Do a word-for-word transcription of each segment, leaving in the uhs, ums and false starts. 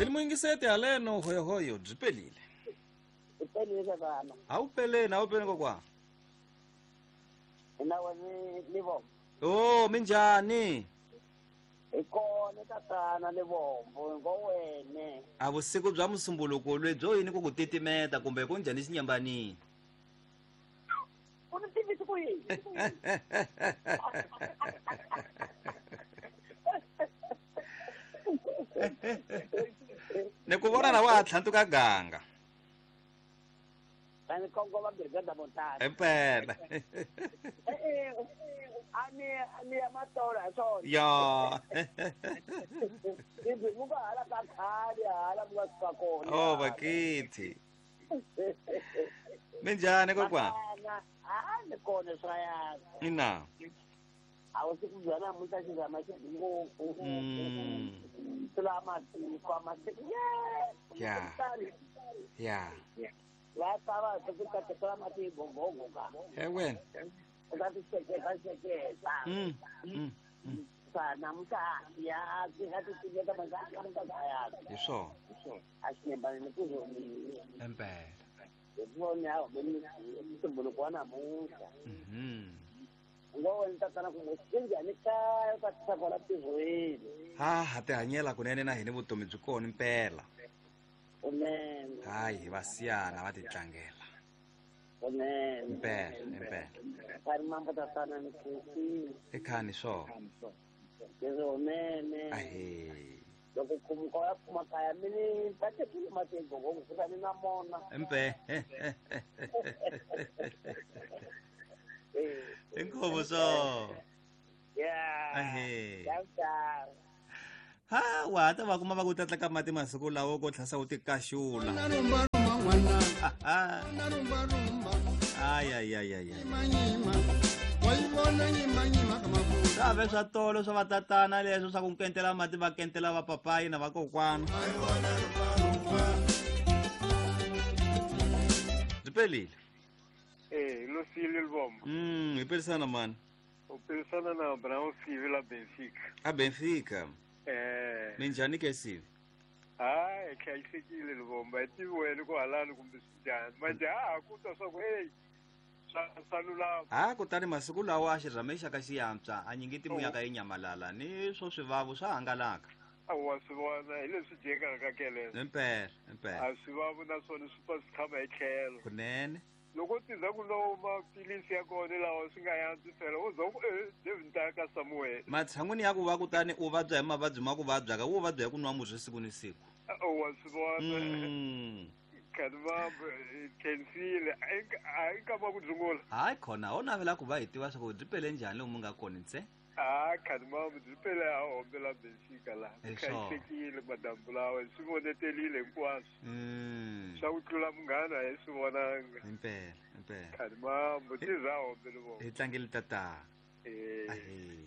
Ilmuingisete aleno hoyo hoyo byi pelile. Pelile tatana. A wu peleni, a wu peleni kokwana. Ina wena ni vombo. Oh, minjhani? Hi kona tatana ni vombo ngo wene. A vusiku bya musumbuluko lebyo yini ku ku titimeta kumbe ku njhani xinyambanini? U ni tivisi ku yini? Ni ku vona na wa ha tlhantuka ganga. Ani kongoma brigada montana. Impela. Eh ani ani ya matola swona. Ya. Ibi muka hala ka khale hala muka suka kona. Oh bakithi. Minjhani kokwana? Ah ni kona swa yana. Ina. A wu siku bya namuntlha xi zama xi ngopfu. Mm. Tlula matiko masiku. Ya. Ya. La tava ku ta mati gongongo ka. He wena. Ka ti seketa seketa. Mm. Mm. Sa namuntlha ya ti nga ti tiveka manga ka ka ya. Hi swona. A xi nyambani ku zoni. Impela. Hi vona ha vona ntumbuluko wa namuntlha. Mhm. Ngo wena tatana ku njhani kaya ka tisa kwala tirhweni. Ha ha tihanyela kunene na hina vutomi byi kona impela. Kunene. Hayi va siyana va titlangela. Kunene. Impela, impela. Kari mambo tatana ni khensile. I khani swona. Kunene. Ahee. Loko khumuka ya kuma kaya mini ta tekile mati gongongo kutani na mona. Impela. Inkomo so. Yeah. Ahee. Ciao. Ha wa ta va kuma va ku tlatla ka mati masiku lawo ko tlhasa u tikaxula. Ay ay ay ay. Save swa tolo swa vatatana leswo swa ku nkentela mati va kentela va papayi na vakokwana. Byi pelile. Eh, Lucílio Lubombo. Mm, hi pelisana mani. U pelisana na Abraão Sivi la Benfica. A Benfica. Eh. Minjhani ke Sivi? Hayi, hlayisekile Lubombo. A tivi wena ku halani kumbe swi njhani. Manje ha ku twa swa ku hey, swa swa lulama. Ha kutani masiku lawa a xirhame xa ka xi antswa, a nyingiti muyaka yi nyamalala ni swo swivavu swa hangalaka. A wa swi vona hi leswi dyekaka ka kelelo. Impela, impela. A swivavu naswona swi pfa swi tshama hi tlhelo. Kunene. Loko tiza ku lowu maphilisi ya kona lawa swi nga yantswi phela u za ku eh David ta ka Samuel. Matshan'wini ya ku va kutani u vabya hi mavabyi ma ku vabyaka wo vabya hi ku nwa murhi siku ni siku. Wa swi vona. Mm. Khani va khensile a yi kama ku dzungula. Hayi khona ho navela ku va hi tiva swa ku byi pele njhani lomu nga kona ntse. Ah khani ma byi pele a hombela Benfica la. Hi swona. Hlayisekile madambu lawa swi vonetelile hinkwaswo. Mm. Swa ku tlula munghana a hi swi vonanga. Impela, impela. Khani mambo tiza hombela vona. Hi tlangele tata. Eh. Ahee.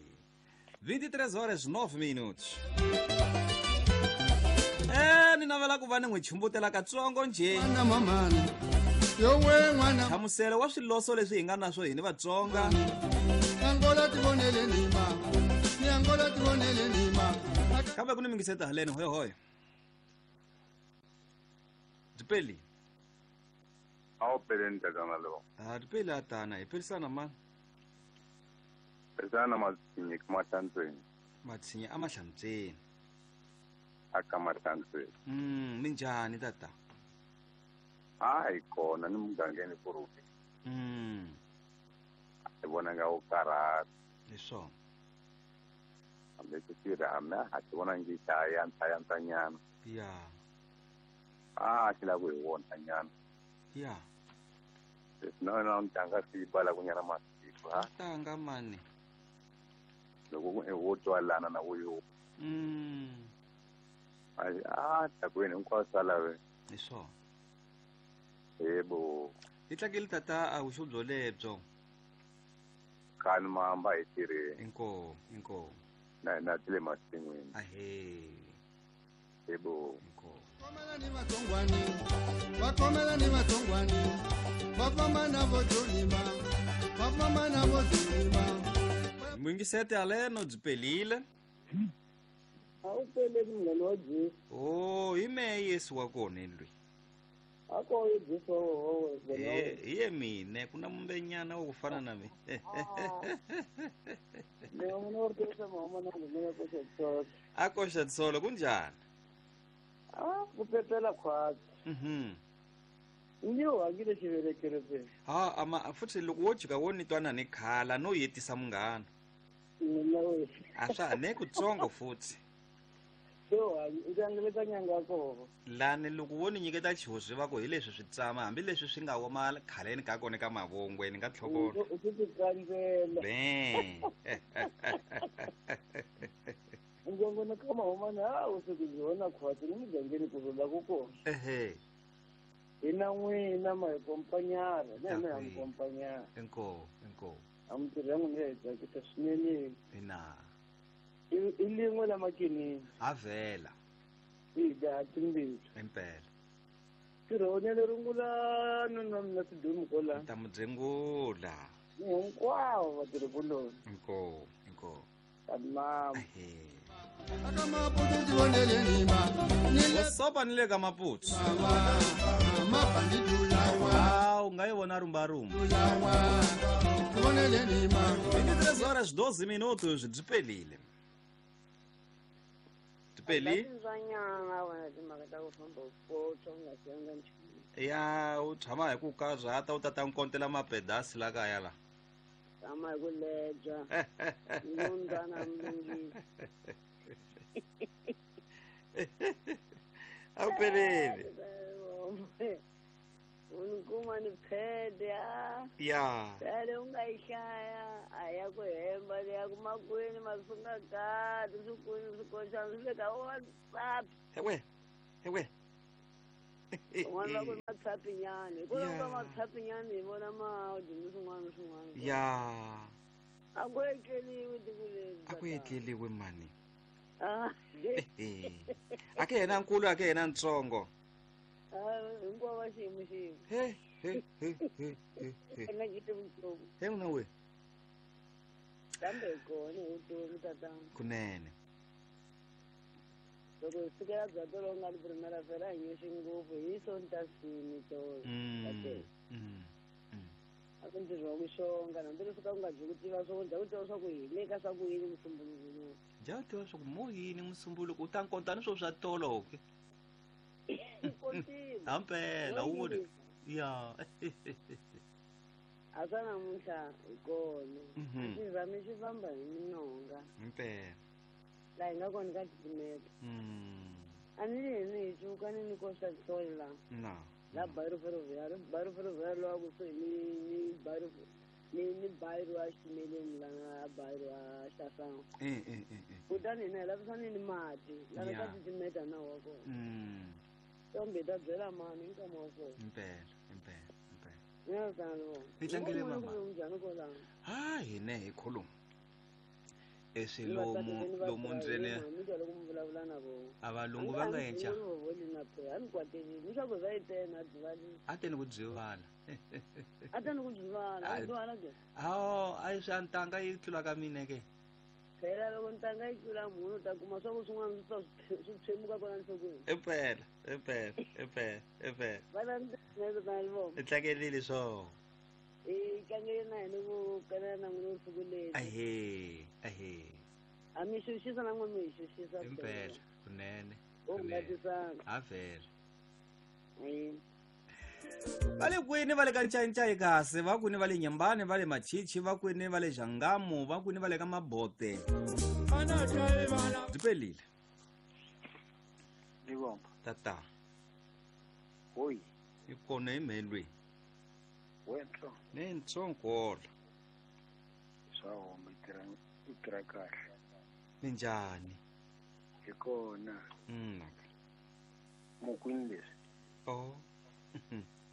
vinte e três horas nove minutos. Eh, ni navela ku va ni n'wi chumbutela katsongo njhe. Nhlamuselo wa swiloso leswi hi nga na swo hini Vatsonga. Kambe ku ni mingiseta haleni hoyo hoyo. Byi peli. A wu peleni tatana lo. Ah, byi peli atana, hi pelisana mani. Pelisana Matshinyi ka Mahlantsweni. Matshinyi a Mahlantsweni. A ka Mahlantsweni. Mm, minjhani tata? Hayi kona ni mugangeni kurupi. Mm. Hi vona nga wu karhata. Hi swona. Hambi ku tirha a ha ti vona ngi xa yantswa yantswa nyana. Ya. Ah, xi lava ku hi vona nyana. Ya. Leswi na wena u ntanga swi bala ku nyana masiku ha. Ntanga mani. Loko ku wo twalana na wo yo. Mm. Ai ah, takwini hinkwaswo swa laveka. Hi swona. Yebo. Hi tlangele tata a vuxu byo lebyo. Khani mamba hi tirheni. Inkomu, inkomu. Na na tile masin'wini. Ahee. Yebo. Inkomu. Mwingisete aleno byi pelile. A wu peleni munghana wa Jesu. Oh, hi me Yesu wa kona lwi ako Yesu wa eh iye mine kuna mumbenyana wo kufana na mi ne umuntu ortesa mama na mina ko tsolo ako tsolo kunjani ah kupepela khwazi mhm ndio wangile xivelekelo pe ha ama futhi loko wo jika wo ni twana ni khala no yetisa munghana a swa ne kutsongo futhi lani loko wo ni nyiketa xihoxo va ku hi leswi swi tsama hambileswi swi nga woma khaleni ka kona ka mavongweni ka tlhokolo be ngongona ka mahomana ha u se ku khwatsi ni mugangeni ku rhula ku kona ehe hina n'wina ma hi kompanyana na hina hi kompanyana inko inko a mintirho ya n'wina ya hi tsakisa swinene ina i lin'we la makinini avela i dya timbili impela tirhonele rungula nuna mina tidumu kola ta mudzengula hinkwavo vatirhikuloni inko inko tamam sopa ni le ka Maputo ah u nga yi vona rumba rumba vinte e três horas doze minutos byi pelile byi pelile ya u tshama hi ku karhata u tata nkontela mapedasi la kaya la tshama hi ku lebya ngundzana mlungisi a wu peleli unikuma ni phede a ya phele u nga yi hlaya a ya ku hemba leya ku makwini masunga kati swi kwini swi koxana swi le ka WhatsApp ewe ewe un'wana va ku ri matshapinyana hikwalaho ka matshapinyana hi vona maudi ni swin'wana ni swin'wana ya a ku etleliwi tiko leri a ku etleliwi mani a ke yena nkulu a ke yena ntsongo hinkwavo va xiyimo xin'we he he he he he he nga cinci vutomi he n'wina we kambe hi kona hi vutomi tatana kunene loko hi sukela bya tolo nga ri primera fela hi nyoxi ngopfu hi sontasini tolo a ku ntirho wa ku xonga hambileswi ka ku nga byi ku tiva swo dya ku tiva swa ku hi le ka swa ku yini musumbuluko lowu dya ku tiva swa ku mo yini musumbuluko u ta nkonta ni swo swa tolo ke hampela wu voni ya a swa namuntlha hi kona xi zame xi famba hi minonga impela laha hi nga kona ka titimeta a ni li hini hi cuka ni ni koxa tsolo la na la bayiro ferroviário bayiro ferroviário lowa kusuhi ni ni bayiro ni ni bayiro a xitimeleni lana bayiro a xasango eh eh eh kutani hina hi lavisani ni mati lana ka titimeta na wa kona kambe hi ta byela mani hi nkama wa kona impela impela impela ni tlangele mama njhani kwalano ha hina hi khuluma eswi lomu lomu ndzeni a valungu va nga enca a teni ku byivala a teni ku byivala awo a yi swa ntanga yi tlula ka mina ke phela loko ntanga yi tlula munhu u ta kuma swa ku swin'wana swi ta swi tshwemuka kona nhlokweni impela impela impela impela va i tlangelile swo i tlangele na hina ku kanela na n'wina vusiku leri ahe ahe a mi xuxisa na n'we mi hi xuxisa impela kunene u ngatisana ha vhela va le kwini va le ka ncayincayi kasi va kwini va le Nyambani va le Machichi va kwini va le Xangamu va kwini va le ka Mabote byi pelile tata hoyi hi kona hi mhelweni wentlo ne ntsongola swa homa i tirha i tirha kahle minjhani hi kona mm mukwini leswi oh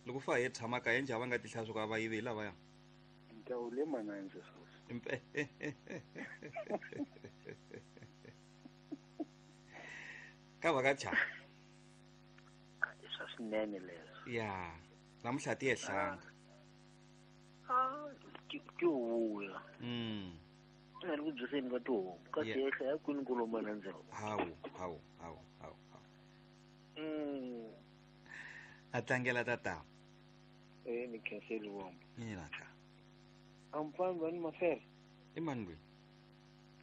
loko fa hi tshama kaya njhani va nga ti hlaya swo ka va yivi lavaya ntawu le manandze sweswi ka va ka cha i swa swinene leswo ya namuntlha ti ehlanga ah ti vuya mm nga ri ku byiseni ka tihomu ka ti ehla ya kwini ku loma nandzelo hawu hawu hawu hawu hawu mm A tlangela tata. Eh ni khenseli Livombo. Mina ka. Amfani vani mafere. I mani loyi?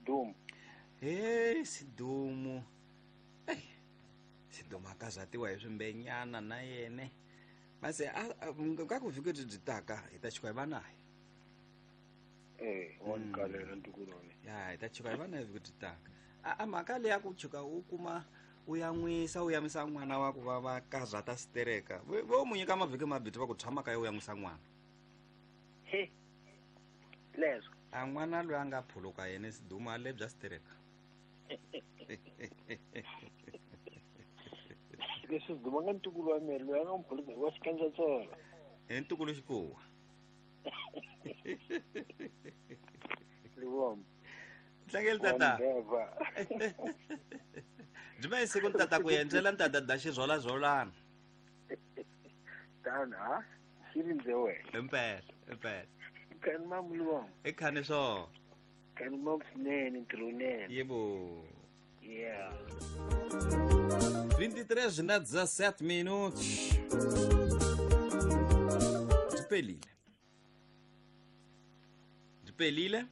Dumo. He Sidumo. Ey. Sidumo akazatiwa hi swimbenyana na yene. Mase a ka ku vhiki byi taka hi ta chika hi va naye. Eh, wa ni kalela ntukulwane. Ya, hi ta chika hi va naye vhiki byi taka. A a mhaka leyi ya ku chika u kuma u yan'wisa u yamisa n'wana wa ku va va kazata sitereka. Vo mu nyika mavhiki mabirhi va ku tshama kaya u yan'wisa n'wana. He. Leswo. A n'wana loyi a nga phuluka yena Sidumo a lebya sitereka. Leswi Sidumo nga ntukulu wa mina loyi a nga mphuluka wa xikandzatsolo. I ntukulu xikuwa. Livombo. Tlangela tata. Byi va siku tata ku endlela ntata da xizolazolana. Tana ha? Xi rindze wena. Impela, impela. Khani mamu Livombo. I khani swona. Khani mamu swinene ntirho wunene. Yebo. Yeah. vinte e três na dezessete minutos. Dipelile. Dipelile?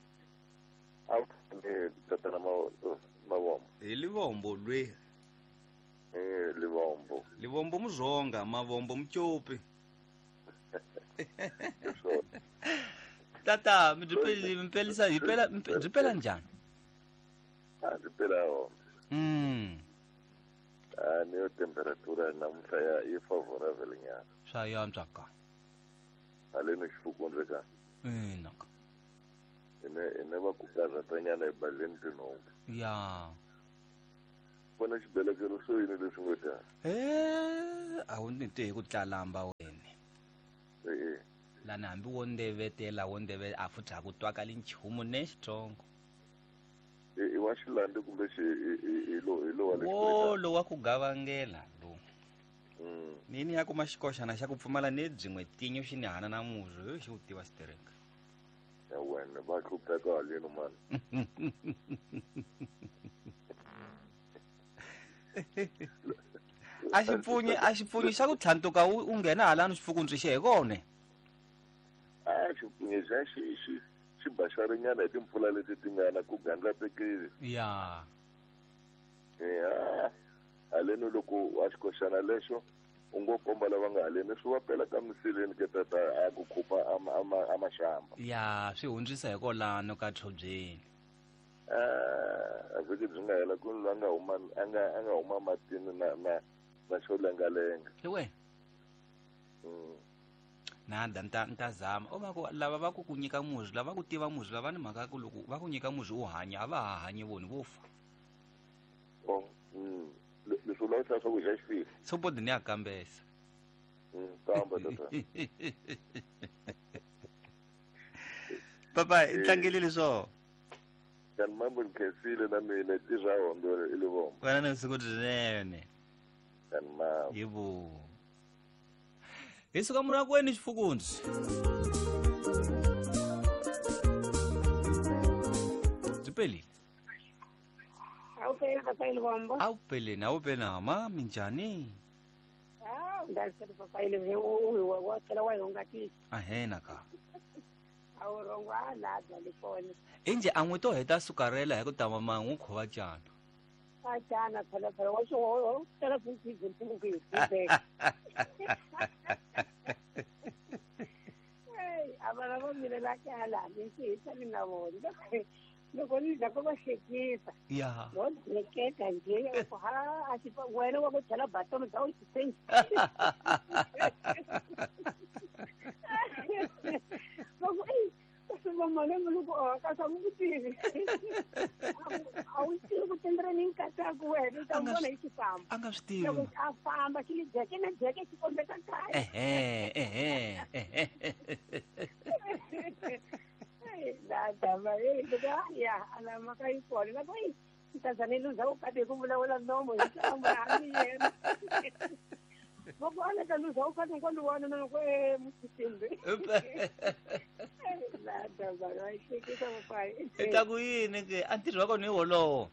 Tata Mavombo. Hi Livombo lwe. Eh Livombo. Livombo muzonga, Mavombo mchopi. Tata, mdipelile mpelisa dipela dipela njani? Ah dipela ho. Mm. Ah niyo temperatura namuntlha ya yi favorable nyana. Swa yantswa ka. Haleno xifukundze ka. Ina ka. Ine ine va ku karhatanyana ebaleni tinhonga. Ya. Vona xibelekelo swo yini leswi ngo ta? Eh, a wu ni twe hi ku tlalamba wena. Eh. Lana hambi wo ndevetela wo ndeve a futhi a ku twakali nchumu ne xitsongo. I wa xilandi kumbe xi i lo i lo wa le wo lo wa ku gavangela lo. Mm. Nini ya kuma xikoxana xa ku pfumala ne byin'we tinyo xi ni hana na muzho xi ku tiva xitereka. Ya wena va hlupheka haleni mani. A xi pfunyi a xi pfunyi xa ku tlhantuka u nghena halani xifukundzi xe hi kona. A xi pfunyi xa xi xi xi baxarinyana hi timpfula leti ti nga na ku gandlatekile. Ya. Ya. Haleni loko wa xikoxana lexo u ngo komba lava nga haleni swi va pela ka misileni ke tata a ku khupa a maxamba. Ya, swi hundzisa hi kolano ka tshobyeni. Ah, a vhiki byi nga hela ku loyi a nga huma a nga a nga huma matini na na na xo lengalenga. Hi wena. Mm. Nada nta nta zama o va ku lava va ku ku nyika muzwi lava ku tiva muzwi lava ni mhaka ku loko va ku nyika muzwi u hanya a va ha hanyi voni vo fa. Oh, mm. Leswi u lavisa swa ku dya xifile. Sopodi ni ya kambesa. Mm, kamba tata. Papa, i tlangelile swo. Kan mambo ni khensile na mina tirha hondo i Livombo. Wena ni siku rinene. Kan mambo. Yebo. Hi suka murakweni xifukundzi. Dipelile. Awupeli papa Livombo. Awupeleni, awupeli hama minjhani? Ah, ndalisele papa Livombo wa tlhela wa hi Ahena ka. A wu rhongo a labya likona. Inje a n'wi to heta sukarela hi ku tama ma n'wi khova cana. A cana phela phela wa swi wa tela futhi hi hi. Hey, a vana va mina la kala ni swi hisa ni na vona. Loko ni dya ko va hlekisa. Ya. No hleketa nje ku ha a xi wena wa ku chela batomu bya u xi Loko ei mama loko a ka sa mu tivi. A wu tivi ku tendra ni nkataku wena u ta vona hi xifambo. A nga swi tivi. Loko a famba xi li jeke na jeke xi kombeta kaya. Ehe, ehe, ehe. La va eh ya ala maka yi kona la ku ta luza u kade ku vulavula nomo hi tlamba hambi yena. Loko a la ta luza u kade ku wana na ku e mutsimbe. La ta va yi hlekisa papayi. I ta ku yini ke a ntirho wa kona hi wolowo.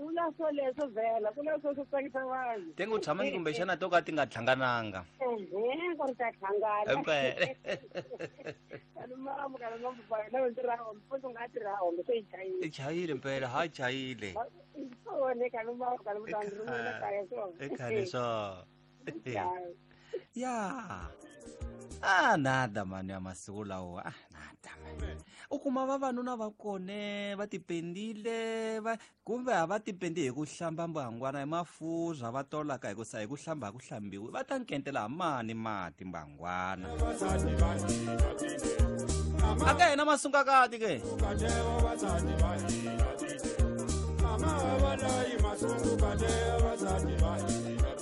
Vula swoleswo vhela ku na swo swo tsakisa vanhu. Tenge u tshama ni kumbexana to ka ti nga hlangananga. Ehe, ku ri ta hlangana. Impela. Kalumamu kalumamu ba na tirha mpfuno nga tirha hombe se yi chayile. I chayile mpela ha chayile. Swona kalumamu kalumamu rhumela kaya swona. I khale swo. Ya. Ah nada mani ya masiku lawa. Ah nada mani. U kuma vavanuna va kone va tipendile va kumbe a va tipendi hi ku hlamba mbangwana hi mafurha va tolaka hi ku sa hi ku hlamba hi ku hlambiwi va ta nkentela mani mati mbangwana. Aka yena masungakati ke.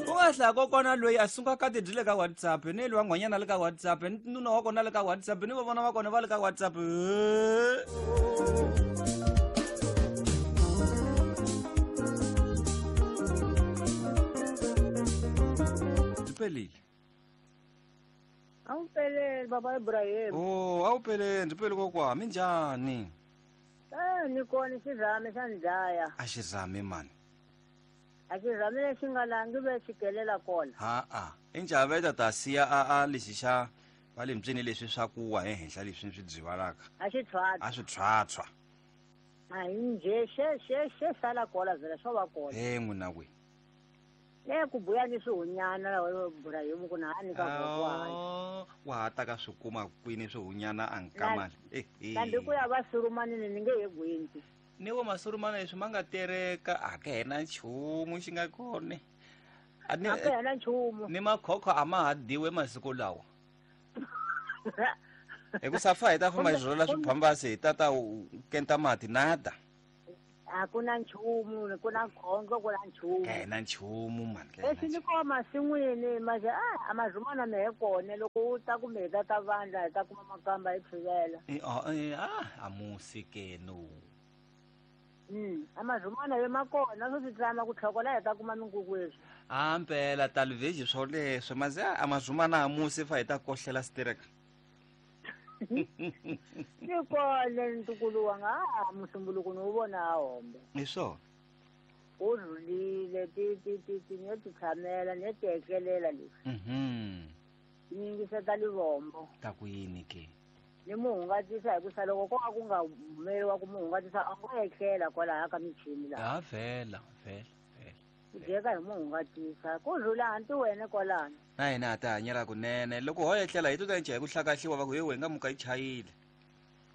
U nga hlaya kokwana loyi a sungakati byi le ka WhatsApp ni loyi wa nhwanyana le ka WhatsApp ni nuna wa kona le ka WhatsApp ni vavona va kona va le ka WhatsApp. Byi pelile. A wu peleli baba Ibrahim. Oh, a wu peleli byi peli kokwa minjhani? Eh, ni kona xirhami xa ndlaya. A xirhami mani. A xirhami lexi nga langi ve xikelela kona. Ha a i njhaveta ta siya a a lexi xa va le mbyeni leswi swa ku wa ehenhla leswi swi byivalaka. A xi tshwatshwa. A swi tshwatshwa. A hi njhe xe xe xe sala kona vhela swo va kona. Eh n'wina we. Le ku buya ni swihunyana lawa Ibrahim ku na hani ka kokwana. Wa ha ta ka swi kuma kwini swihunyana a nkamani. Eh eh. Kambe ku ya va surumanini ni nge he gwinti. Ni wo masurumana leswi ma nga tereka a ka hina nchumu xi nga kona. A ni A ka hina nchumu. Ni makhokho a ma ha dyiwe masiku lawa. Hi ku safa hi ta famba hi rhwala swiphambasi hi ta ta kenta mati nada. A ku na nchumu, ku na khondlo, ku na nchumu. Ka hina nchumu mani. Lexi ni kona masin'wini maje a mazumana me he kona loko u ta kumbe hi ta ta vandla hi ta kuma makamba hi tshivela. Eh ah a musi ke no. Mm, amazumana yo makona swo swi tlama ku tlhokola hi ta kuma minkukweswi. A mpela talveji swoleswo maze a mazumana a musi fa hi ta kohlela stereka. Ni kona ntukulu wanga a musumbuluko ni wu vona a hombe. Hi swona. U rhulile ti ti ti ti ni ti tshamela ni ti etlelela leswi. Mhm. Ni yingiseta livombo. Ta ku yini ke? Ni muhungatisa hi ku sa loko ko ka ku nga humeriwa ku muhungatisa a ngo etlela kwalaya ka michini laha. Ha vhela vhela vhela. Ku dyeka hi muhungatisa ku rhula hanti wena kwalano. Na hina ha ta hanyela kunene loko ho etlela hi to ta nca hi ku hlakahliwa va ku he wena muka yi chayile.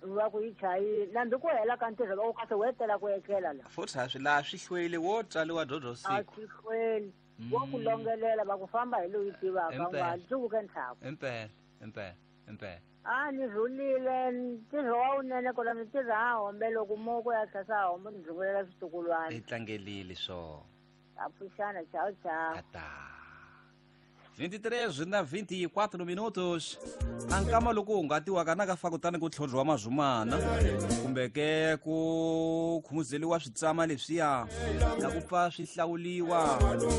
Va ku yi chayile nambi ku hela ka ntirho va ku kasi wo etlela ku etlela la. Futhi a swi laha swi hlweli wo tswariwa dyodzo siku. A swi hlweli wo ku longelela va ku famba hi loyi tivaka u nga dzuvuke ntlhaku. Impela impela impela. A ni rhulile ntirho wa wunene kona ni tirha ha hombe loko moko ya tlhasa hombe ni rhungulela switukulwana. I tlangelile swo. A pfuxana chao chao. Ata. vinte e três na vinte e quatro minutos. A nkama loko u nga tiwaka na ka fa kutani ku tlhodliwa mazumana kumbe ke ku khumuzeliwa switsama leswiya na ku pfa swi hlawuliwa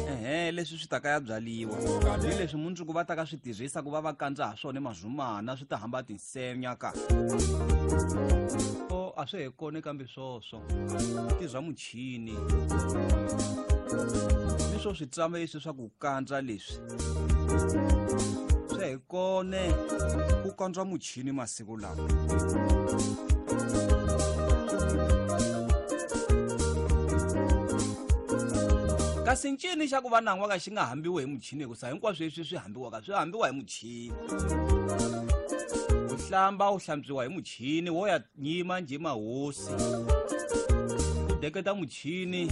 ehe leswi swi taka ya byaliwa ni leswi mundzuku va taka swi tirhisa ku va va kandza ha swona mazumana swi ta hamba tinsenya ka o a swi he kona kambe swoswo ti bya muchini ni swo switsama leswi swa ku kandza leswi swi hi kone ku kandzwa muchini masiku lawa. Kasi ncini xa ku va nan'wa ka xi nga hambiwi hi muchini hikusa hinkwaswo leswi swi hambiwaka swi hambiwa hi muchini. U hlamba u hlantswiwa hi muchini wo ya nyima njhe mahosi. U deketa muchini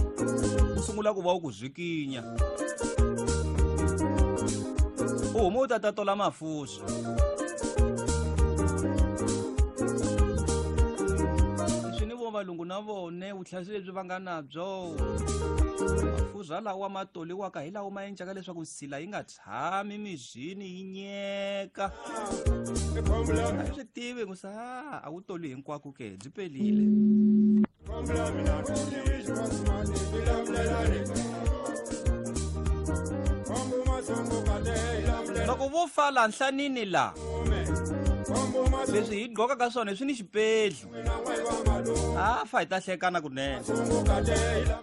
u sungula ku va u ku zwikinya. U huma u ta ta tola mafuswa. Leswi ni vo valungu na vone vuhlayisi lebyi va nga na byo. Mafurha lawa ma toliwaka hi lawa ma endlaka leswaku nsila yi nga tshami mizini yi nyeka. A swi tivi ku sa a wu toli hinkwako ke byi pelile. Loko vo fa la nhlanini la Leswi hi gqokaka swona swi ni xipedlu. A fa hi ta hlekana kunene.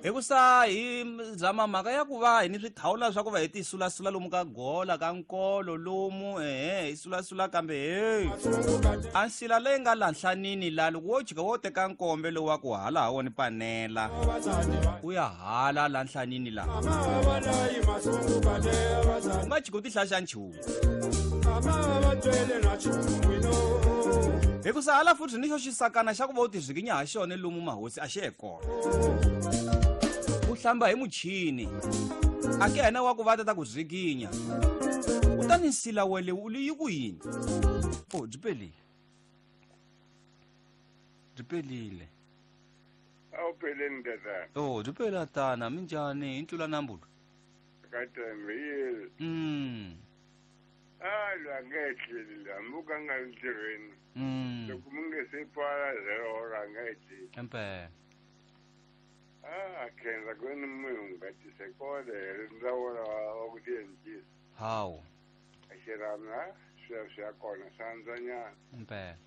Hikusa hi zama mhaka ya ku va hi ni swithawula swa ku va hi ti sulasula lomu ka gola ka nkolo lomu ehe hi sulasula kambe hey. A nsila leyi nga la nhlanini la loko wo jika wo teka nkombe lowu wa ku hala ha wona panela u ya hala la nhlanini la u nga jika u ti hlaxa nchumu. Hikusa hala futhi ni xo xisakana xa ku va u tizvikinya ha xona lomu mahosi a xi ye kona. U hlamba hi muchini a ke yena wa ku va ta ku zvikinya kutani nsila wele u li yi ku yini? Oh, byi pelile byi pelile. A wu peleni tatana. Oh, byi pela tana minjhani hi ntlula nambulo ka tembe yini? Mm. A loyi a nga etleli loyi hambi u ka nga ri ntirhweni. Mm. Loko mi nge se pfala zero hora a nga etleli. Impela. A khensa ku ni munhu ngatise kona hi ri ndzawulo wa ku tiencisa. Hawu. A xirhami a swilo swi ya kona swa antswanyana. Impela.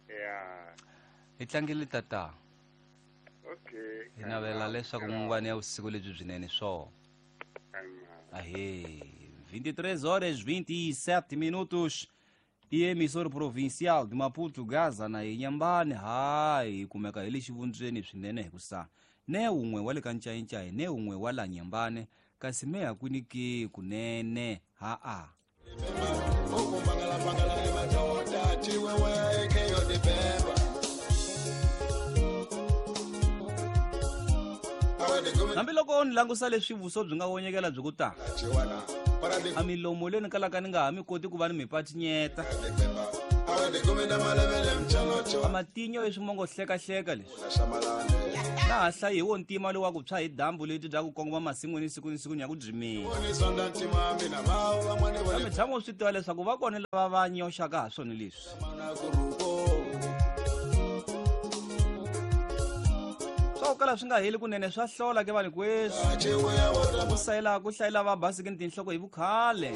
Ya. Hi tlangele tata. Okay. Hi navela leswaku mungwani ya vusiku lebyi byinene swona. Ahê, vinte e três horas vinte e sete minutos. E emissora provincial de Maputo, Gaza na Inhambane, hayi kumeka hi le xivundzweni swinene hikusa ne wun'we wa le ka ncayincayi ne wun'we wa la Nyambane kasi me hakwini ke kunene ha-a. Hambiloko ni langusa leswi vuso byi nga vonyekela byi ku ta a milomo leyi ni kalaka ni nga ha mi koti ku va ni mi patinyeta a matinyo leswi mongo hlekahleka leswi na ha hlayi hi wo ntima lowu wa ku tshwa hi dyambu leti bya ku kongoma masin'wini siku ni siku ni ya ku dzimeni. Kambe tshama u swi tiva leswaku va kona lava va nyoxaka ha swona leswi. Swa ku kala swi nga heli kunene swa hlola ke vanhu kweswi. Ku sayela ku hlayela va basike ni tinhloko hi vukhale.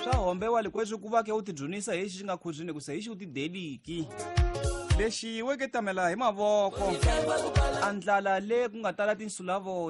Swa hombewa likweswi ku va ke u tidzunisa hi xi nga khuzwini ku se hi xi u tideliki. Lexi weke tamela hi mavoko. A ndlala le ku nga tala tinsulavoya.